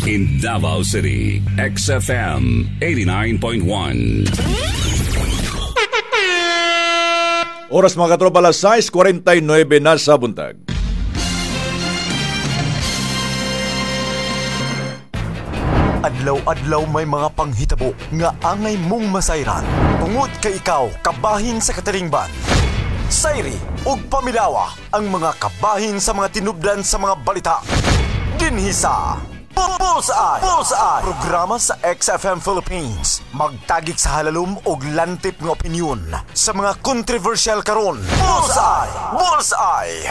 In Davao City, XFM 89.1. Oras mga katropa, alas 6:49 na sa buntag. Adlaw-adlaw may mga panghitabo nga angay mong masayran. Tungod kay ikaw kabahin sa katilingban. Sayri ug pamilawa ang mga kabahin sa mga tinubdan sa mga balita. Dinhi sa Bullseye! Bullseye! Programa sa XFM Philippines. Magtagik sa halalom og lantip nga opinyon sa mga kontrobersyal karon. Bullseye! Bullseye!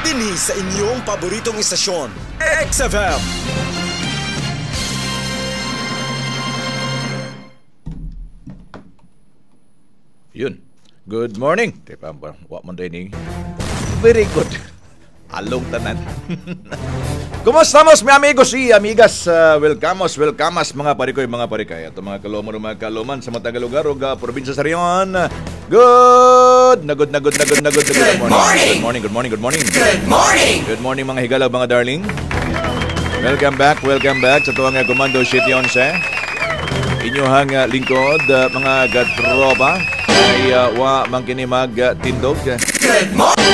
Dinhi sa inyong paboritong istasyon, XFM. Yun. Good morning. Tipa, wa man ni. Very good. Along tanan. Kumusta mi amigos y amigas? Welcome mga parikoy, mga parikay. Ato mga kaloman, mga kaloman sa matag lugar ug probinsya sa Rion. Good na good na good na good na good. Good morning. Good morning, good morning, good morning. Good morning. Good morning mga higala, mga darling. Welcome back sa tuwang Komando City 11. Inyuhang lingkod, mga gatropa, ay wa man kini magtindog.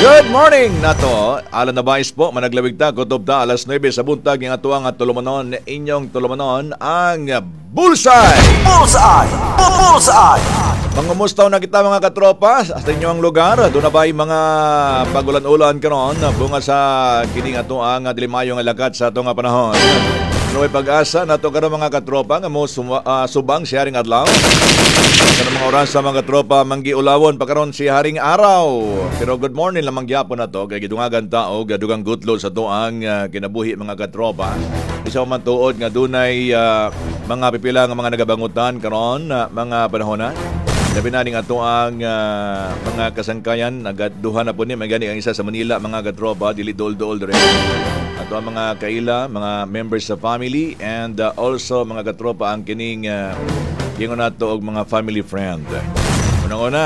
Good morning nato. Alan na bais po, managlawig ta, kutob ta, alas 9 sa buntag, yung atuang at tulumanon, inyong tulumanon, ang Bullseye! Bullseye! Bullseye! Mangumustaw na kita mga katropa sa inyong lugar. Doon na ba'y mga pagulan-ulan karon bunga sa kining atoang dilimayong lakat sa atong panahon. Pero may pag-asa nato karon mga katropa nga mo subang si Haring Adlaw. Karon mga oras sa mga katropa manggiulawon pa karon si Haring Araw. Pero good morning lamang gyapon nato kay gidungagan ta og dugang gutlo sa atoang kinabuhi mga katropa. Isa man tuod nga dunay mga pipila nga mga nagabangutan karon mga panahona. Labi na ning ato ang mga kasangkayan, nagaduha na po ni, may gani ang isa sa Manila, mga katropa, dili dool-dool dere. Ato ang mga kaila, mga members sa family, and also mga katropa ang kining ingon nato og mga family friend. Unang-una,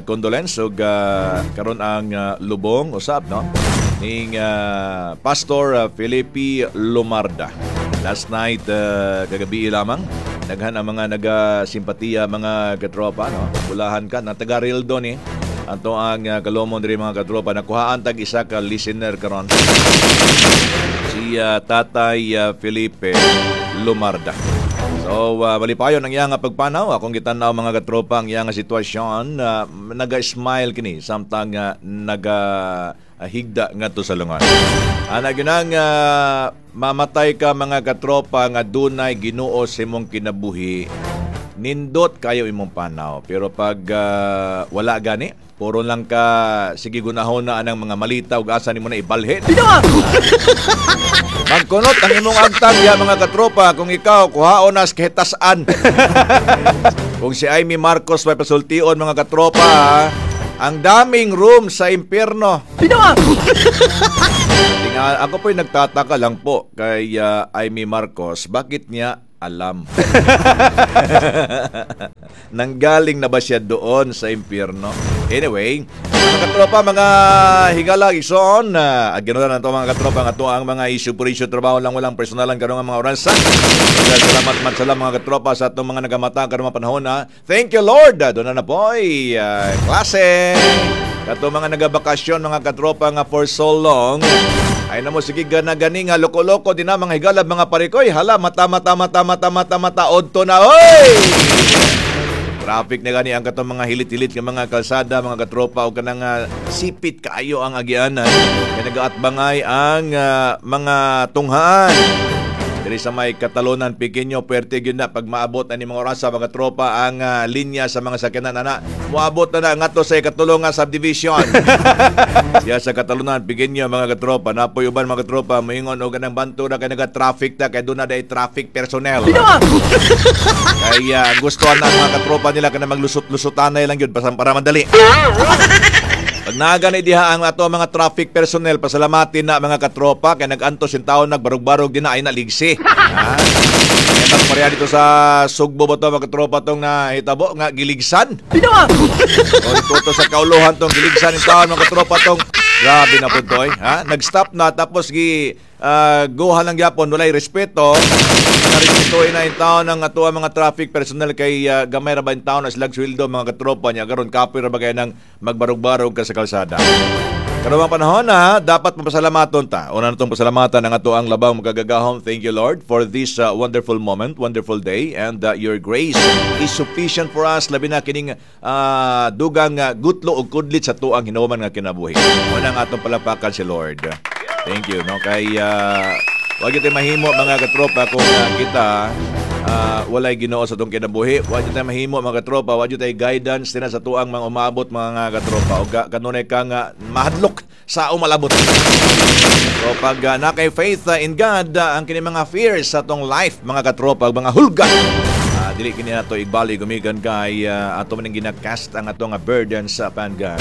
condolence og karon ang lubong usab, no, ning Pastor Felipe Lumarda. Last night, kagabi lamang, daghan ang mga nagasimpatiya mga katropa, no? Bulahan ka, na taga Rildo ni. Ato ang kalomon diri mga katropa, nakuhaan tag isa ka listener karon. Si Tatay Felipe Lumarda. So, malipayon ang iyang pagpanaw. Akong gitan-aw mga katropa ang iyang sitwasyon, naga-smile kini samtang naga higda ngadto sa lungan. Ana ginang mamatay ka mga katropa nga dunay Ginoo sa imong kinabuhi, nindot kayo imong panaw. Pero pag wala gani, puro lang ka sige gunahon na anang mga malita ug asa nimo na ibalhin. Magkunot ang imong agtang ya mga katropa kung ikaw kuhaon nas kahitasan. Kung si Amy Marcos may pasultion mga katropa, ang daming room sa impyerno. Tinga, ako po'y nagtataka lang po kay Amy Marcos, bakit niya alam? Nanggaling na ba siya doon sa impyerno? Anyway, mga katropa, mga higala, ison, ganoon na ito mga katropa, nga ito ang mga issue por issue, trabaho lang, walang personalan karong mga oras. Salamat man sala mga katropa sa atong mga nagamata karong mga panahon. Ha? Thank you Lord! Doon na po'y klase! Kato mga nagabakasyon mga katropa nga for so long. Ay namo sige gana-gani nga loko-loko din na mga higalab mga parikoy. Hala mata mata mata mata mata mata odto na oy. Traffic na gani ang katong mga hilit-hilit nga mga kalsada mga katropa o kanang sipit kaayo ang agianan. Kay nagaatbangay ang mga tunghaan. Diri sa may Catalonan, Piqueño, puwerte gyud na pag maabot na ni mga orasa mga tropa ang linya sa mga sakyanan ana. Moabot na na ngadto sa ikatulong nga subdivision. Siya sa Catalonan, Piqueño mga katropa, napoy uban mga katropa, moingon og kanang banto na kay naga-traffic ta kay doon na day traffic personnel. Kaya gusto na ang mga katropa nila kana maglusot-lusutanay lang gyud para madali. Pag naganay diha ang ato mga traffic personnel, pasalamatin na mga katropa kay nag-antos yung taon nagbarog-barog din na ay naligsi. Ha? Kaya pareha dito sa Sugbo ba to mga katropa tong nahitabo nga giligsan. O ito sa kauluhan tong giligsan yung taon mga katropa tong Grabe na po to, eh. Ha? Nag-stop na tapos gi guha lang gyapon, walay respeto. Narespetuhin na yung taon ng ato ang mga traffic personnel kay gamay ra ba yung taon na silang sweldo mga katropa niya karon kapoy ra ba kay nang magbarog-barog ka sa kalsada. Karong panahon na dapat mapasalamaton ta. Una na itong pasalamatan ang ato ang labang magagagahom. Thank you, Lord, for this wonderful moment, wonderful day, and your grace is sufficient for us. Labi na kining dugang gutlo o kudlit sa tuang hinuman nga kinabuhi. Una ang atong palapakan si Lord. Thank you. No? Kay wag tayo mahimo mga katropa kung kita walay Ginoo sa atong kinabuhi. Wag tayo mahimo mga katropa, wag tayo guidance tina sa tuang mga umabot mga katropa o kanunay ka nga mahadlok sa umalabot. So pag nakay faith in God, ang kini mga fears sa atong life mga katropa, mga hulga. Dili kini nato igbali gumikan kay ato man ginakast ang atong burdens upon God.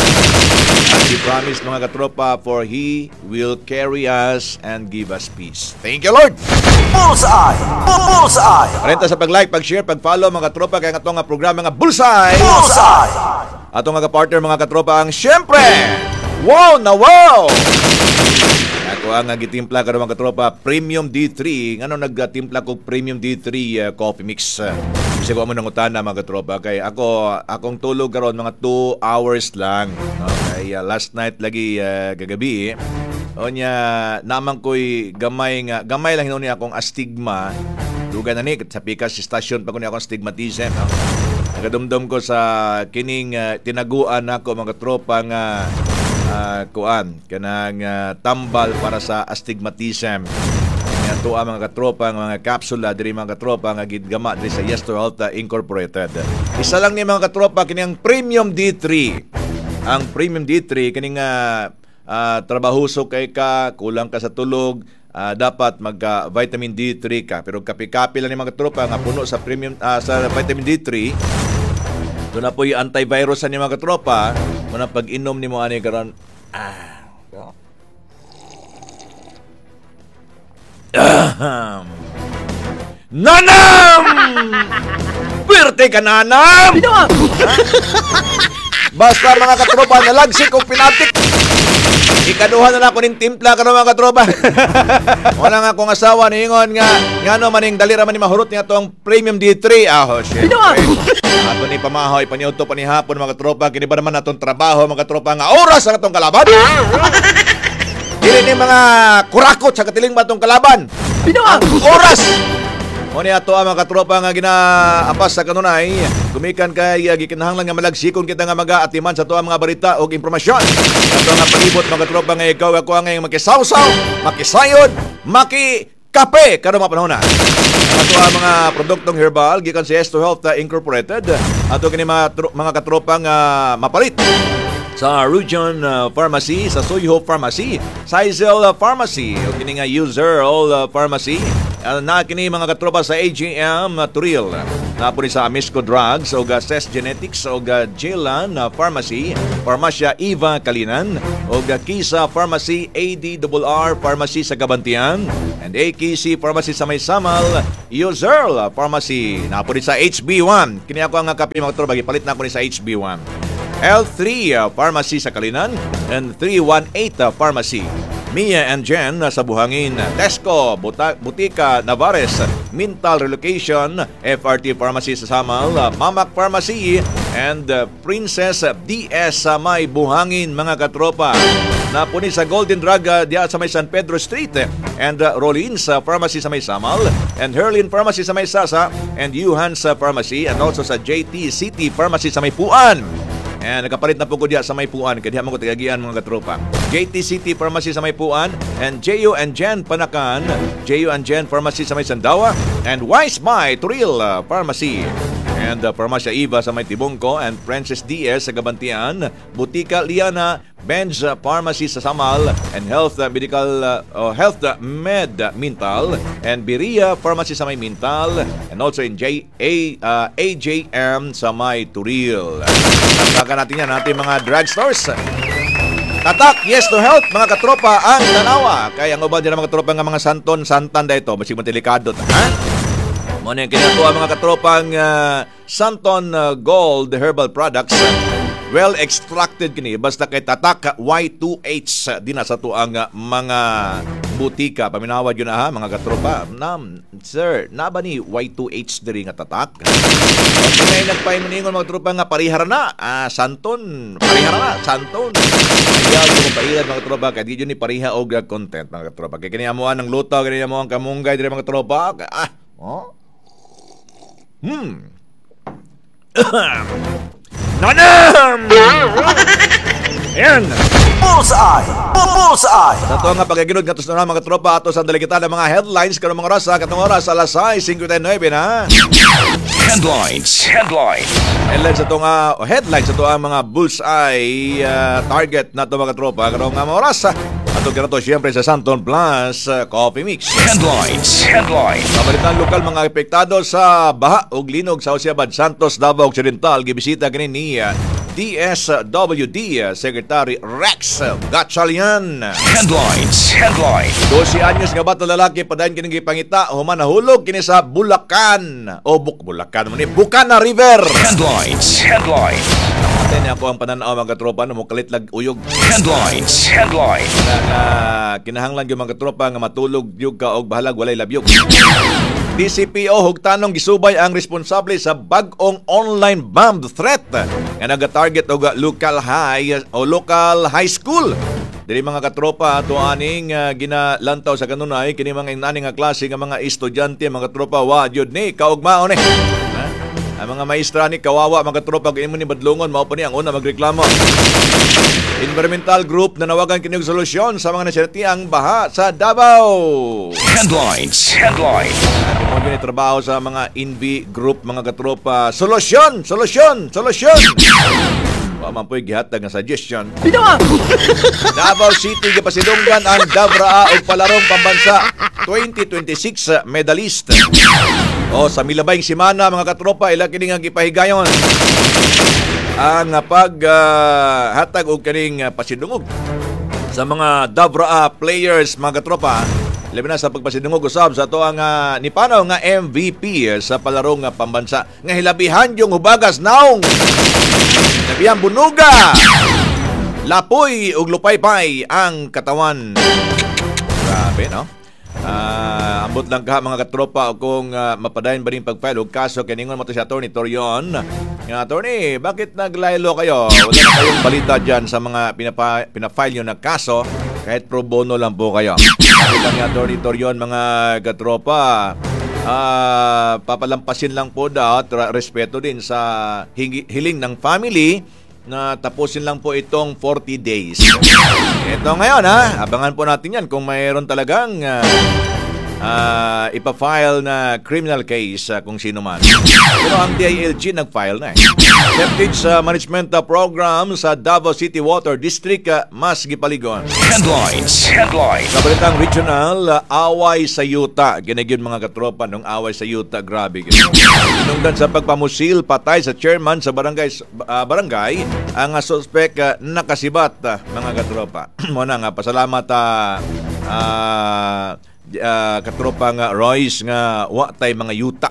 As He promised mga katropa, for He will carry us and give us peace. Thank you, Lord! Bullseye! Bullseye! Renta sa pag-like, pag-share, pag-follow mga katropa kay ang atong programa nga Bullseye! Bullseye! Atong mga partner mga katropa ang syempre! Wow na wow! Ako ang gitimpla karon mga katropa, Premium D3. Ngano nagtimpla ko Premium D3 coffee mix? Bisa ko mo nangutana mga katropa kay ako akong tulog karon mga 2 hours lang. No? Kay last night lagi gagabi. Onya naman ko'y gamay nga gamay lang hinuon niya akong astigma. Duga na ni sa pikas station pa ko niya akong astigmatism, no? Nagadumdum ko sa kining tinaguan nako mga katropa nga kuan kanang tambal para sa astigmatism. Nga tuwa mga katropa ang mga kapsula diri mga katropa nga gidgama diri sa Yes to Health Incorporated. Isa lang ni mga katropa kini ang Premium D3. Ang Premium D3 kining trabahuso kay ka, kulang ka sa tulog, dapat magka vitamin D3 ka. Pero kapi-kapi lang ni mga katropa nga puno sa premium sa vitamin D3. Doon na po yung antivirus ni mga katropa. Muna pag-inom ni mo ani karon. Nanam! Pwerte ka, nanam! Basta mga katropa, nalagsik o pinatik. Ikaduha na lang ako ning timpla karon mga katropa. Wala nga akong asawa niingon nga ngano maning dali ra man ni mahurot niya tong Premium D3. Ah, oh, shit. Ato ni pamahoy paniudto pa ni hapon mga katropa, kini ba naman atong trabaho mga katropa nga oras ang atong kalaban? Dili ni mga kurakot sa katiling ba atong kalaban? Ang oras. Mo ni ato ang mga katropa nga ginaapas sa kanunay, gumikan kay gikinahanglan nga malagsikon kita nga maga-atiman sa ato ang mga balita og impormasyon. Ato nga palibot mga katropa nga ikaw ako ang ngayong makisawsaw, makisayod, makikape karon mga panahon na. Ato ang mga produktong herbal gikan sa Yes to Health Incorporated. Ato kini mga katropa nga mapalit sa Rujon Pharmacy, sa Soyho Pharmacy, sa Izel Pharmacy, o kini nga User All Pharmacy. Na kini mga katropa sa AGM Turil. Napo ni sa Amisco Drugs o Ses Genetics o Jelan Pharmacy, Pharmacia Eva Kalinan o Kisa Pharmacy, ADRR Pharmacy sa Gabantian, and AKC Pharmacy sa May Samal, Userl Pharmacy. Napo ni sa HB1. Kini ako ang kape mga katropa, gipalit na ako ni sa HB1. L3 Pharmacy sa Kalinan and 318 Pharmacy. Mia and Jen sa Buhangin, Tesco, Butika Navares, Mintal Relocation, FRT Pharmacy sa Samal, Mamak Pharmacy, and Princess DS sa may Buhangin mga katropa. Napuni sa Golden Drug diya sa may San Pedro Street, and Rollins Pharmacy sa may Samal, and Herlin Pharmacy sa may Sasa, and Yuhans Pharmacy, and also sa JT City Pharmacy sa may Puan. And nakapalit na po ko diya sa may Puan, kaya diya mo ko tigagian mga katropa. JT City Pharmacy sa may Puan, and J.U. and Jen Panakan, J.U. and Jen Pharmacy sa may Sandawa, and Wise My Turil Pharmacy. And Pharmacia Eva sa may Tibungko, and Princess DS sa Gabantian, Butika Liana, Benz Pharmacy sa Samal, and Health Medical Health Med Mintal, and Biria Pharmacy sa may Mintal, and also in AJM sa may Turil. Tapakan natin yan ating mga drugstores. Tatak, Yes to Health, mga katropa, ang tanawa. Kaya ang uban din ang mga katropa nga mga santon, santan da ito, basig matelikado ta, ha? Muna yung kinatuwa mga katropang Santon Gold Herbal Products. Well extracted kini basta kay tatak Y2H dinha sa atuang mga butika. Paminawa yun na ha, mga katropa. Nam, sir, naa ba ni Y2H diri nga tatak? Okay, nagpaingon mga tropa nga parihara na. Ah, Santon, parihara na, Santon. Ayaw ko pailad, mga tropa, kay di jud ni pariha og content, mga tropa. Kay kini amuan ng luto, kini amo ang kamunggay diri, mga tropa. Ah, oh. Nanam! Ayan! Bullseye! Bullseye! Sa ato nga pagkaginod nga na mga tropa, ato sa dalikitan ng mga headlines karong mga oras, katong oras alas 6:59 na. Headlines. Headlines. Headlines ato nga o headlines ato ang mga bullseye target na to, mga tropa, karong nga mga oras. Ato kinato siyempre sa Santon Plus Coffee Mix. Headlines. Headlines. Sa balitang lokal, mga apektado sa baha ug linog sa Jose Abad Santos, Davao Occidental, gibisita kini ni DSWD Secretary Rex Gatchalian. Headlines. Headlines. 12 anyos nga bata lalaki padayon kining gipangita human nahulog kini sa Bulacan o Bulacan man ni Bukana River. Headlines. Headlines. Ate ni ako ang pananaw, mga katropa, no mokalit lag uyog. Headlines. Headlines. Na nga kinahanglan gyud, mga katropa, nga matulog gyud ka og bahalag walay labyog. DCPO hugtanong gisubay ang responsable sa bag-ong online bomb threat nga naga-target og local high o local high school. Dili, mga katropa, ato aning ginalantaw sa kanunay kini mga inani nga klase nga mga estudyante, mga katropa, wa jud ni kaugmaon ni. Ha? Ang mga maestra ni kawawa, mga katropa, kung imo ni badlongon, mao pa ni ang una magreklamo. Environmental group nanawagan kini og solusyon sa mga nasinatiang baha sa Davao. Headlines. Headlines. At mo ni trabaho sa mga Envi group, mga katropa. Solusyon, solusyon, solusyon. Wa man po'y gihatag nga suggestion. Davao City gipasidunggan ang Davraa og palarong pambansa 2026 medalist. O sa milabayng semana, mga katropa, ila kini nga gipahigayon ang pag hatag og kaning pasidungog sa mga Davraa players, mga katropa, labi na sa pagpasidungog usab sa ato ang nipanaw nga MVP sa palarong pambansa nga hilabihan yung hubagas naong, hilabihan bunuga, lapoy ug lupaypay ang katawan. Grabe, no? Ah, ambot lang ka, mga katropa, kung mapadayon ba rin pag-file og kaso kay ningon mo to si Attorney Torion. Nga attorney, bakit nag-lie low kayo? Wala na kayong balita dyan sa mga pinafile nyo na kaso kahit pro bono lang po kayo. Sabi pa ni Attorney Torion, mga katropa, papalampasin lang po daw at respeto din sa hiling ng family na tapusin lang po itong 40 days. Ito ngayon ha, abangan po natin yan kung mayroon talagang ipa-file na criminal case kung sino man. Pero ang DILG nag-file na eh. Septic Management Program sa Davao City Water District mas gipaligon. Headlines. Headlines. Sa balitang regional, away sa yuta. Ginagyon, mga katropa, nung away sa yuta, grabe. Hinungdan sa pagpamusil, patay sa chairman sa barangay, ang suspect nakasibat, mga katropa. Muna nga, pasalamat katropa nga Royce nga wa tay mga yuta.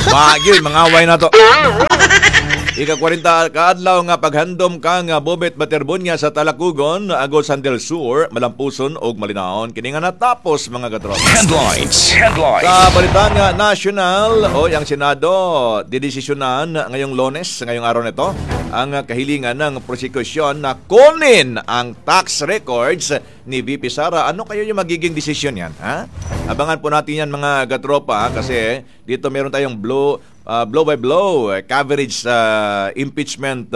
Magyud, mga away na to. Ika-40 kaadlaw nga paghandom ka nga Bobet Baterbonia sa Talakugon, Agusan del Sur, malampuson og malinaon. Kini nga natapos, mga katropa. Headlines. Headlines. Sa balitang national, o ang Senado didesisyonan ngayong Lunes, ngayong araw nito, ang kahilingan ng prosekusyon na kunin ang tax records ni VP Sara. Ano kayo yung magiging desisyon yan? Ha? Abangan po natin yan, mga katropa, kasi dito meron tayong blow by blow coverage sa impeachment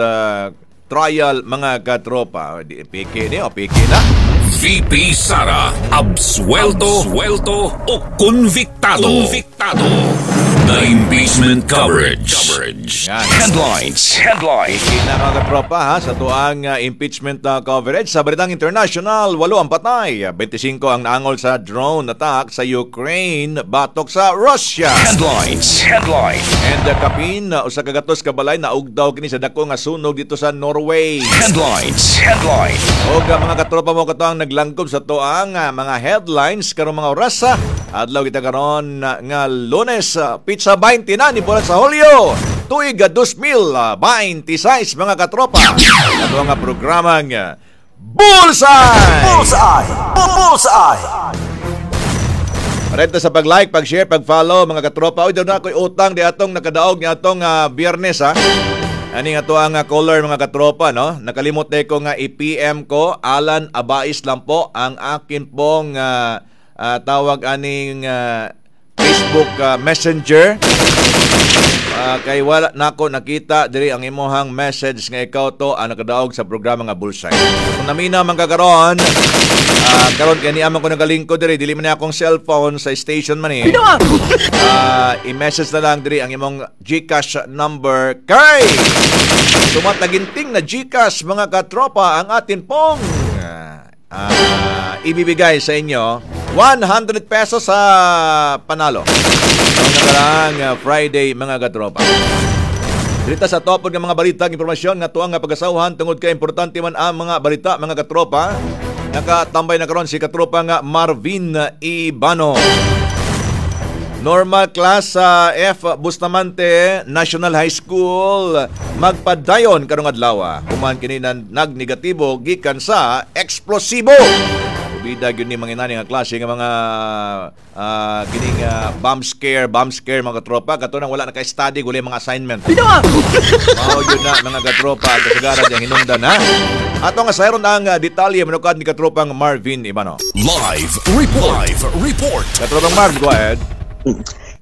trial, mga katropa. Piki ni o piki na. VP Sara, absuelto, absuelto o convictado. Convictado. The impeachment coverage. Coverage. Yan. Headlines. Headlines. Piki na, mga katropa, ha, sa tuang impeachment coverage. Sa balitang international, walo ang patay. 25 ang naangol sa drone attack sa Ukraine batok sa Russia. Headlines. Headlines. And kapin, usa ka gatos ka balay naugdaw kini sa dako nga sunog dito sa Norway. Headlines. Headlines. Og mga katropa, mo kato ang naglangkob sa tuang mga headlines karong mga oras. Adlaw kita karon nga Lunes, pitsa 20 na ni bulan sa Hulyo. Tuig 2026, mga katropa. Ato nga programang Bullseye! Bullseye! Bullseye! Renta sa pag-like, pag-share, pag-follow, mga katropa. Uy, daw na ako'y utang di atong nakadaog ni atong Biyernes, ha. Ani nga to ang caller, mga katropa, no? Nakalimot na ko nga i-PM ko, Alan Abais lang po ang akin pong tawag aning Facebook Messenger. Kay wala nako nakita diri ang imuhang message nga ikaw to ang nakadaog sa programa nga Bullseye. Kung namina man ka karon, karon kay niya man ko nagalingkod diri, dili man ni akong cellphone sa station man eh. I-message na lang diri ang imong GCash number kay tumataginting na GCash, mga katropa, ang atin pong ibibigay sa inyo, 100 pesos sa panalo. Ang nakaraang Friday, mga katropa. Dito sa topod ng mga balita, ang impormasyon nga tuang nga pagasawahan tungod kay importante man ang mga balita, mga katropa. Nakatambay na karon si katropa nga Marvin Ibano. Normal class sa F Bustamante National High School magpadayon karong adlaw. Human kini nagnegatibo gikan sa eksplosibo. Ubida gyud ni mga inani nga klase nga mga kining bomb scare, mga katropa, kato nang wala na ka-study, wala mga assignment. Mao yun na, mga katropa, ang kasagaran diyang hinungdan, ha. Ato nga sayron ang detalye manukad ni katropang Marvin Ibano. Live Report. Live Report. Katropang Marv, go ahead.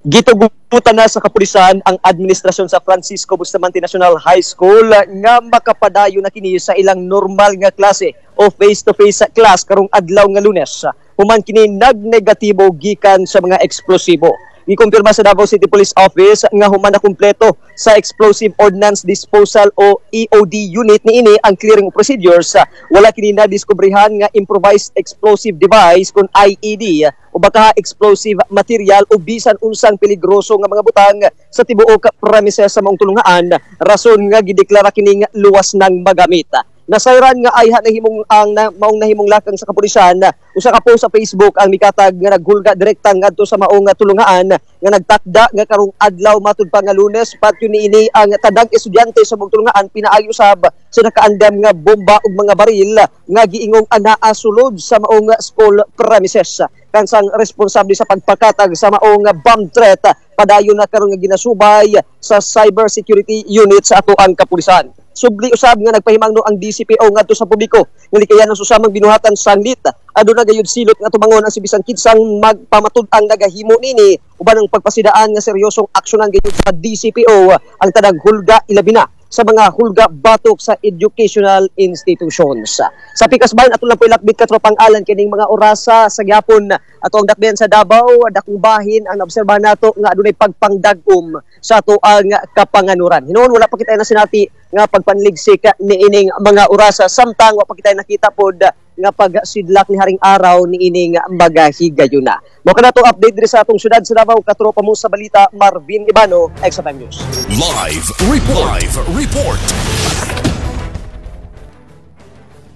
Gitugutan na sa kapulisan ang administrasyon sa Francisco Bustamante National High School nga makapadayon na kini sa ilang normal nga klase o face-to-face class karong adlaw nga Lunes. Human kini nagnegatibo gikan sa mga eksplosibo. Gikumpirma sa Davao City Police Office nga human na kumpleto sa Explosive Ordnance Disposal o EOD unit niini ang clearing procedures, wala kini nadiskubrihan nga improvised explosive device kung IED o baka explosive material o bisan unsang peligroso nga mga butang sa tibuok premises sa maong tulungaan, rason nga gideklara kining luwas ng magamit. Nasayran nga ayha nahimong ang na, maong nahimong lakang sa kapulisan, usa ka post sa Facebook ang mikatag nga naghulga direkta ngadto sa maong tulungaan nga nagtakda nga karong adlaw, matud pa nga Lunes, patyo niini ang tanang estudyante sa maong tulungaan pinaagi usab sa nakaandam nga bomba ug mga baril nga giingong anaa sulod sa maong school premises. Kansang responsable sa pagpakatag sa maong bomb threat padayon na karon nga ginasubay sa cyber security unit sa atoang kapulisan. Subli usab nga nagpahimangno ang DCPO ngadto sa publiko nga likayan ang susamang binuhatan sanglit. Aduna gayud silot nga tumangon ang sibisan kinsang magpamatud-ang nagahimo nini uban ang pagpasidaan nga seryosong aksyonan gayud sa DCPO ang tanang hulga, ilabi na sa mga hulga batok sa educational institutions. Sa Pikas Bayan, ato lang po ilakbit, katropang Alan, kining mga orasa sa gyapon ato ang dakbayan sa Davao, dakong bahin ang naobserbahan nato nga adunay pagpangdag-om sa ato ang kapanganuran. Hinuon wala pa kita na sinati nga pagpanligsik niining mga orasa, samtang wa pa kita nakita pod nga pagsidlak ni Haring Araw niining magahigayuna. Mao kana to update diri sa atong syudad sa Davao, katropa mo sa balita, Marvin Ibano, XFM News. Live Report. Live Report.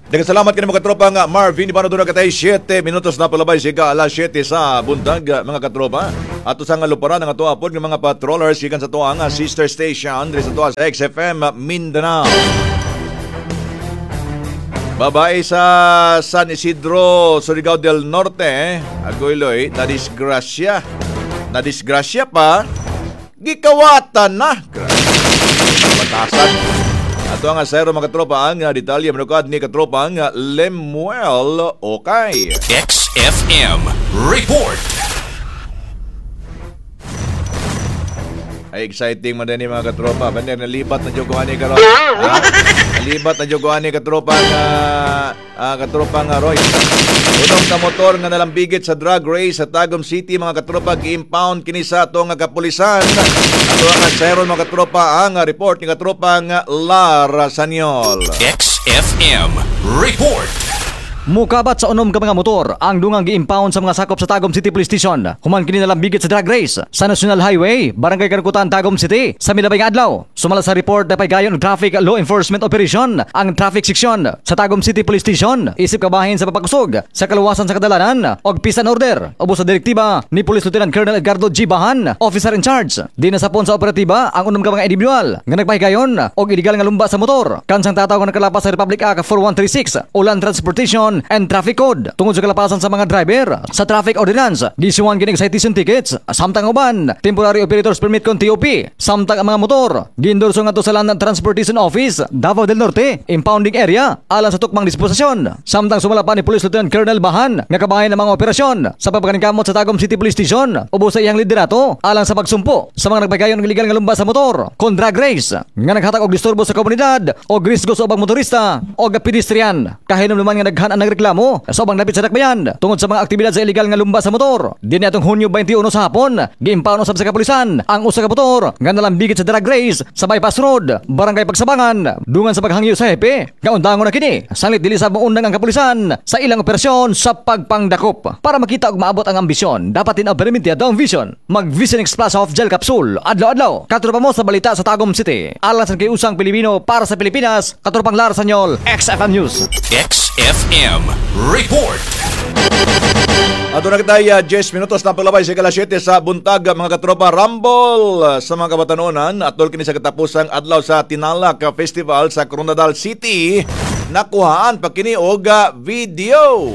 Daghang salamat kini, mga katropa nga Marvin Ibano. Doon katay 7 minutos na palabay siga alas 7 sa buntag, mga katropa. Ato sa nga luparan ang ato apod nga mga patrollers gikan sa tuwa nga sister station diri sa tuwa sa XFM Mindanao. Babae sa San Isidro, Surigao del Norte, agoyloy, nadisgrasya. Nadisgrasya pa, gikawatan na. Grabe. Batasan. Ato ang asero, mga katropa, ang detalye manukad ni katropa ang Lemuel Okay. XFM Report. Ay, exciting man din mga katropa. Bander, nalibat na jogo ani karon. Ha? Nalibat na jogo ani katropa nga Roy. Unong ka motor nga nalambigit sa drag race sa Tagum City, mga katropa, gi-impound kini sa ato nga kapulisan. Ato ang asero, mga katropa, ang report ni katropa nga Lara Sanyol. XFM Report. Mukabat sa 6 ka mga motor ang dungang gi-impound sa mga sakop sa Tagum City Police Station. Human kini nalambigit sa drag race sa National Highway, Barangay Karukutan, Tagum City sa milabay nga adlaw. Sumala sa report, nagpahigayon og traffic law enforcement operation ang traffic section sa Tagum City Police Station isip kabahin sa pagpakusog sa kaluwasan sa kadalanan og peace and order ubos sa direktiba ni Police Lieutenant Colonel Edgardo G. Bahan, officer in charge. Dinasapon sa operatiba ang 6 ka mga individual nga nagpahigayon og illegal nga lumba sa motor. Kansang tataw nga nakalapas sa Republic Act 4136 o Land Transportation and Traffic Code. Tungod sa kalapasan sa mga driver sa traffic ordinance, giisuhan kini og citation tickets samtang uban temporary operators permit kon TOP, samtang ang mga motor giendorso ngadto sa Land Transportation Office, Davao del Norte impounding area alang sa tukmang disposisyon. Samtang sumala pa ni Police Lieutenant Colonel Bahan nga kabahin ang mga operasyon sa pagpaningkamot sa Tagum City Police Station ubos sa iyang liderato alang sa pagsumpo sa mga nagpagayon ng illegal nga lumba sa motor kon drag race nga naghatag og disturbo sa komunidad o risgo sa ubang motorista o pedestrian. Kahinumduman nga daghan ang nagreklamo sa ubang dapit sa dakbayan tungod sa mga aktibidad sa illegal nga lumba sa motor. Dinhi atong Hunyo 21 sa hapon, giimpound usab sa kapulisan ang usa ka motor nga nalambigit sa drag race sa Bypass Road, Barangay Pagsabangan, dungan sa paghangyo sa hepe nga undangon na kini. Sanglit dili sa muundang ang kapulisan sa ilang operasyon sa pagpangdakop. Para makita og maabot ang ambisyon, dapat din permanente ang vision. Mag Vision X Plus Soft Gel Capsule, adlaw-adlaw. Katropa mo sa balita sa Tagum City. Alang sa kiusang Pilipino para sa Pilipinas, katropang Lara Sanyol, XFM News. XFM Report. Ato na kita 10 minutos na paglabay sa 7:00 sa buntag, mga katropa. Rumble sa mga kabatanunan atol kini sa katapusang adlaw sa Tinalak Festival sa Koronadal City. Nakuhaan pa kini og video.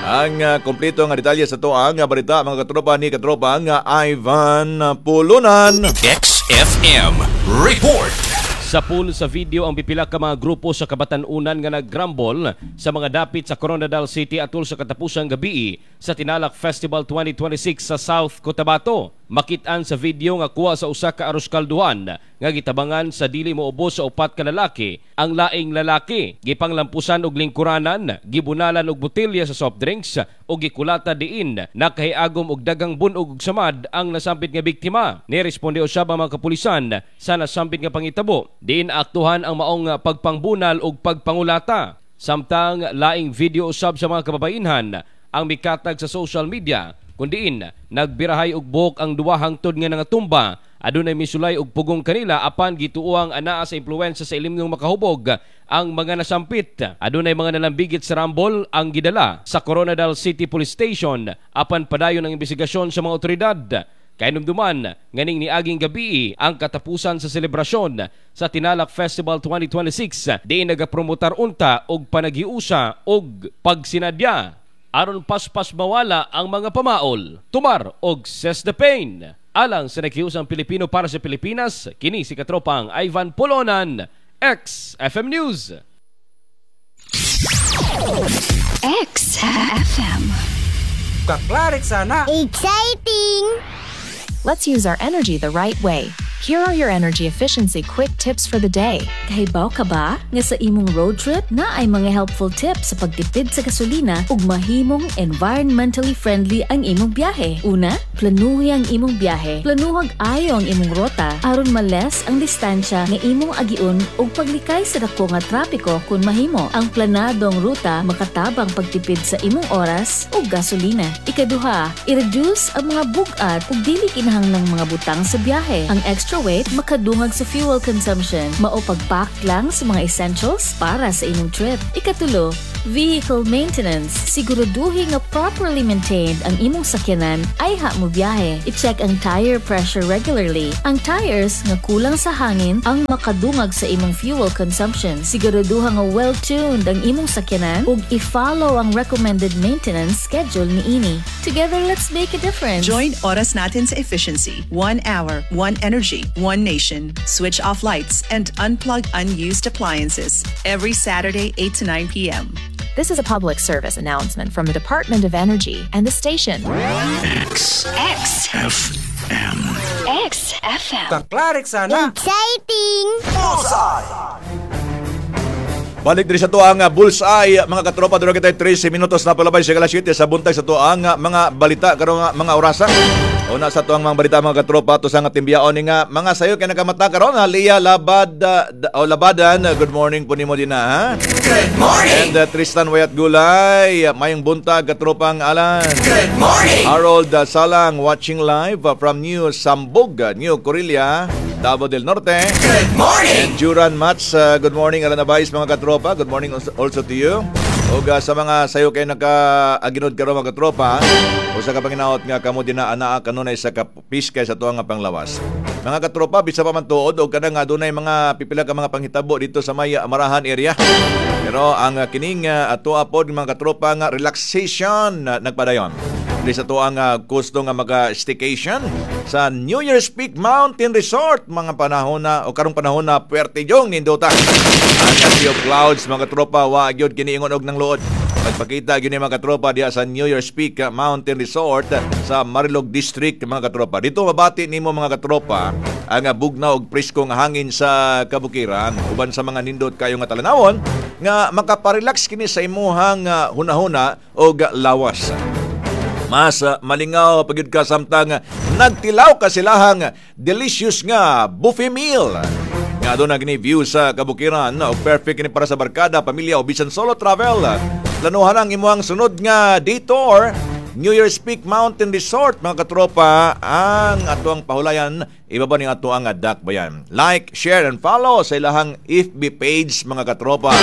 Ang kompleto nga detalye sa to ang balita, mga katropa, ni katropa nga Ivan Pulunan. XFM Report. Sapul sa video ang pipila ka mga grupo sa kabatanunan nga naggrumble sa mga dapit sa Koronadal City atol sa katapusang gabi sa Tinalak Festival 2026 sa South Cotabato. Makitaan sa video nga kuha sa usa ka arroz kalduhan nga gitabangan sa dili moubos sa upat ka lalaki ang laing lalaki. Gipanglampusan og lingkuranan, gibunalan og botelya sa soft drinks ug gikulata diin nakahiagom og dagang bunog ug samad ang nasampit nga biktima. Niresponde usab ang mga kapulisan sa nasampit nga pangitabo diin aktuhan ang maong pagpangbunal ug pagpangulata. Samtang laing video usab sa mga kababainhan ang mikatag sa social media kun diin nagbirahay og buhok ang duha hangtod nga nangatumba. Adunay misulay og pugong kanila apan gituoang anaa sa impluwensya sa ilimnong makahubog ang mga nasampit. Adunay mga nalambigit sa rambol ang gidala sa Koronadal City Police Station apan padayon ang investigasyon sa mga otoridad. Kahinumduman nganing niaging gabi ang katapusan sa selebrasyon sa Tinalak Festival 2026 diin nagapromotar unta og panaghiusa og pagsinadya aron paspas mawala ang mga pamaol, tumar og cess the pain. Alang sa nakiusang Pilipino para sa Pilipinas, kini si katropang Ivan Polonan, XFM News. XFM. Kaklarik sana. Exciting! Let's use our energy the right way. Here are your energy efficiency quick tips for the day. Kahibaw ka ba nga sa imong road trip na ay mga helpful tips sa pagtipid sa gasolina ug mahimong environmentally friendly ang imong biyahe? Una, planuhi ang imong biyahe. Planuhag ayo ang imong rota aron ma-less ang distansya nga imong agiun ug paglikay sa dako nga trapiko kung mahimo. Ang planadong ruta makatabang pagtipid sa imong oras ug gasolina. Ikaduha, i-reduce ang mga bug-at ug dili kinahanglang mga butang sa biyahe. Ang extra weight makadungag sa fuel consumption. Mao pagpack lang sa mga essentials para sa imong trip. Ikatulo, vehicle maintenance. Siguraduhin nga properly maintained ang imong sakyanan ayha mo biyahe. I-check ang tire pressure regularly. Ang tires nga kulang sa hangin ang makadungag sa imong fuel consumption. Siguraduha nga well-tuned ang imong sakyanan ug i-follow ang recommended maintenance schedule niini. Together, let's make a difference. Join Oras Natin sa Efficiency. 1 hour, one energy, one nation. Switch off lights and unplug unused appliances. Every Saturday, 8 to 9 p.m. This is a public service announcement from the Department of Energy and the station. X X FM. XFM. Kaklarik sana. Exciting! Bullseye! Balik diri sa tuang Bullseye, mga katropa. Dura kita 13 minutos na palabay sa 7:00 sa buntag sa tuang mga balita karong mga orasa. Una sa tuang mga balita, mga katropa, to sa nga timbiyaon ni nga mga sayo kay nakamata karon ha, Lia Labad o Labadan, good morning po nimo din ha. Good morning. And Tristan Wayat Gulay, mayong buntag, katropang Alan. Good morning. Harold Salang watching live from New Sambog, New Corilla, Davao del Norte. Good morning. And Juran Mats, good morning, Alan Abais, mga katropa. Good morning also to you. Ug sa mga sayo kay naka-aginod karon, mga katropa, usa ka panginaot nga kamo din na anaa kanunay sa kapiskay sa tuang nga panglawas. Mga katropa, bisa pa man tuod og kanang nga dunay mga pipila ka mga panghitabo dito sa may Marahan area. Pero ang kining atoa pod, mga katropa, nga relaxation nagpadayon. Di sa tuang gusto nga maka-staycation sa New Year's Peak Mountain Resort mga panahon na o karong panahon na puwerte yung nindota. Ang sea of clouds, mga katropa, wa gyud kiniingon og nang luod. Pagpakita gyud ni mga katropa diha sa New Year's Peak Mountain Resort sa Marilog District, mga katropa. Dito mabati nimo, mga katropa, ang bugnaw og presko nga hangin sa kabukiran uban sa mga nindot kayo nga talanawon nga makaparelax kini sa imuhang hunahuna og lawas. Mas malingaw pagyud ka samtang nagtilaw ka silahang delicious nga buffet meal. Nga doon na gini view sa kabukiran o perfect kini para sa barkada, pamilya o bisan solo travel. Planuhan ang imuhang sunod nga detour, New Year's Peak Mountain Resort, mga katropa, ang atuang pahulayan ibaba ni atuang dakbayan. Like, share and follow sa ilahang FB page, mga katropa.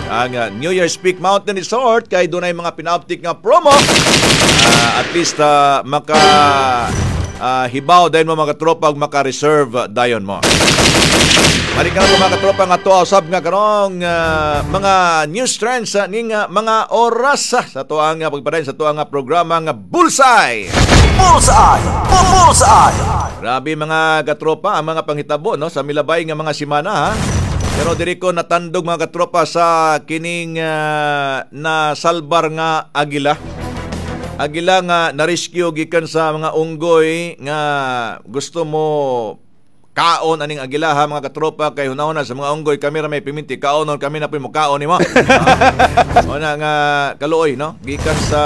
Ang New Year's Peak Mountain Resort kay dunay mga pinauptik nga promo. At least maka hibaw dayon mo, mga katropa, ug maka-reserve dayon mo. Balik ka na mga katropa nga tuwa usab nga karong mga news trends ning mga oras sa tuang pagpadayon sa tuang programa nga Bullseye. Bullseye! Bullseye! Grabe, mga katropa, ang mga panghitabo, no, sa milabay nga mga simana ha. Pero diri ko natandog, mga katropa, sa kining na salbar nga agila. Agila nga na-rescue gikan sa mga unggoy nga gusto mo kaon aning agila ha, mga katropa, kay hunahuna sa mga unggoy, kami ra may piminti kaonon, kami na po mo kaon nimo. Una nga kaluoy, no, gikan sa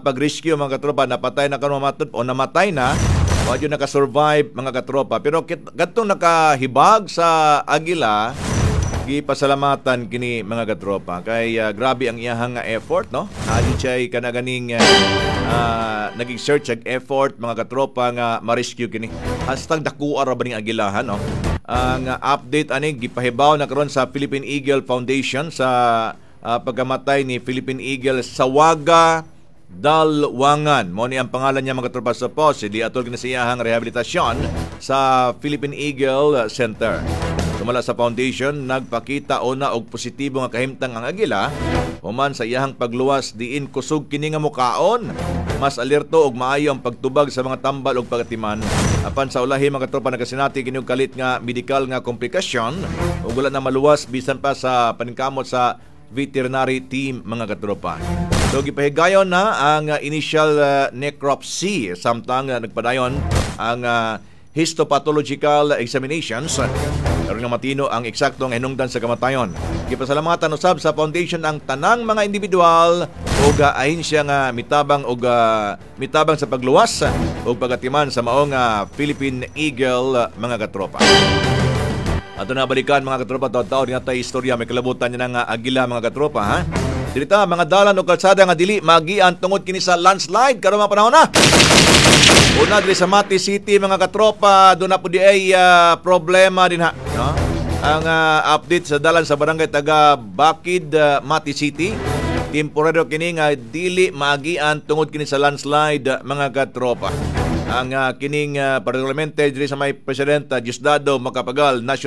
pag-rescue, mga katropa, napatay na karon matud o namatay na, wa jud naka-survive, mga katropa. Pero kadtong nakahibag sa agila, gipasalamatan kini, mga katropa, kay grabe ang iyahang nga effort, no. Adi siya kanaganing naging search ag effort, mga katropa, nga ma-rescue kini. Hastang dakuha ra ba ning agilahan, no. Ang update ani gipahibaw na karon sa Philippine Eagle Foundation sa pagkamatay ni Philippine Eagle Sawaga Dalwangan. Mo ni ang pangalan niya, mga katropa, sa post. Di atol kini sa iyahang rehabilitasyon sa Philippine Eagle Center. Sumala sa foundation, nagpakita una og positibo nga kahimtang ang agila human sa iyahang pagluwas diin kusog kini nga mukaon. Mas alerto og maayo ang pagtubag sa mga tambal og pagatiman. Apan sa ulahi, mga katropa, nagasinati kini og kalit nga medikal nga komplikasyon ug wala na maluwas bisan pa sa paningkamot sa veterinary team, mga katropa. So gipahigayon na ang initial necropsy samtang nagpadayon ang histopathological examinations aron nga matino ang eksaktong hinungdan sa kamatayon. Gipasalamatan usab sa foundation ang tanang mga individual ug ahensya nga mitabang og mitabang sa pagluwas ug pagatiman sa maong Philippine Eagle, mga katropa. Ato na balikan, mga katropa, taw-taw nga tay istorya may kalabutan niya nga agila, mga katropa ha. Dirita mga dalan o kalsada nga dili magian tungod kini sa landslide karon mga panahon na. Una diri sa Mati City, mga katropa, doon na po di ay problema din ha, no? Ang update sa dalan sa barangay taga Bakid, Mati City, temporaryo kini nga dili maagian tungod kini sa landslide, mga katropa. Ang kining particularmente diri sa may President Diosdado Macapagal National